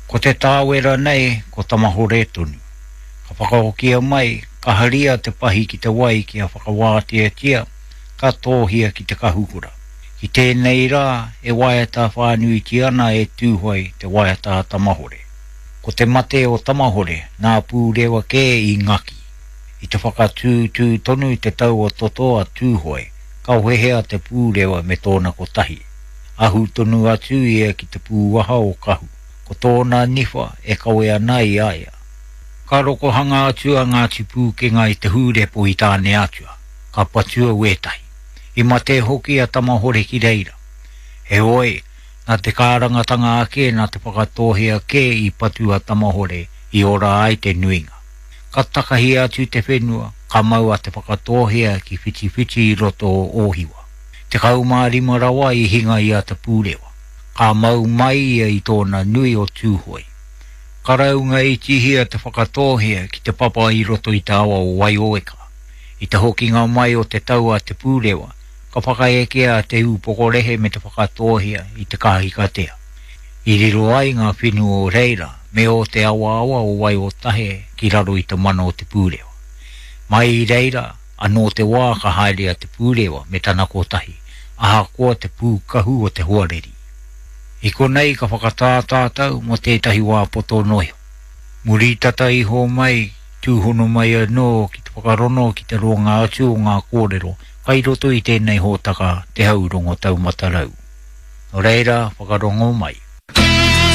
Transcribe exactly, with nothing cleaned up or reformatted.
Ko te tāwera nei, ko Tamahore tonu. Ka whakahokia mai, ka haria te pahi ki te wai kia whakawāteatia, ka tōhia ki te kahukura. Ki tēnei rā, e waiata whānuitia ana e Tūhoe te waiata a Tamahore. Ko te mate o Tamahore, nā Pūrewa kē i ngaki. I te whakatūtū tonu te tau o toto a Tūhoe, ka wehea te Pūrewa me tōna kotahi. Ahu tonu atu ia ki te pūaha o Kahu. Ko tōna niwha e kawe ana i a ia. Ka rokohanga atu a Ngāti Pūkenga i te hūrepo i Tāneatua, ka patua wētahi. I mate hoki a Tamahore ki reira. Heoi, nā te kārangatanga ake nā Te Whakatōhea kē i patu a Tamahore i ora ai te nuinga. Ka takahia atu te whenua, ka mau a Te Whakatōhea ki Whitiwhiti i roto o Ōhiwa. Tekau mā rima rawa i hinga i a Te Pūrewa. Ka mau mai ia i tōna nui o Tūhoe. Ka raunga itihia Te Whakatōhea ki te papa i roto i te awa o Waioweka. I te hokinga mai o te tau a Te Pūrewa, ka whakaekea Te Ūpokorehe me Te Whakatōhea i te Kahikatea. I riro ai ngā whenua o reira me o te awaawa o Waiotahe ki raro i te mana o Te Pūrewa. Mai i reira, anō te wā ka haere a Te Pūrewa me tana kotahi, ahakoa te pūkahu o te hoariri. I konei ka whakatā tātou mō tētahi wā poto noa iho. Muri tata iho mai, tūhono mai anō ki te whakarono ki te roanga atu o ngā kōrero kai roto i tēnei hōtaka Te Hau Rongo Taumata Rau. Nō reira, whakarongo mai.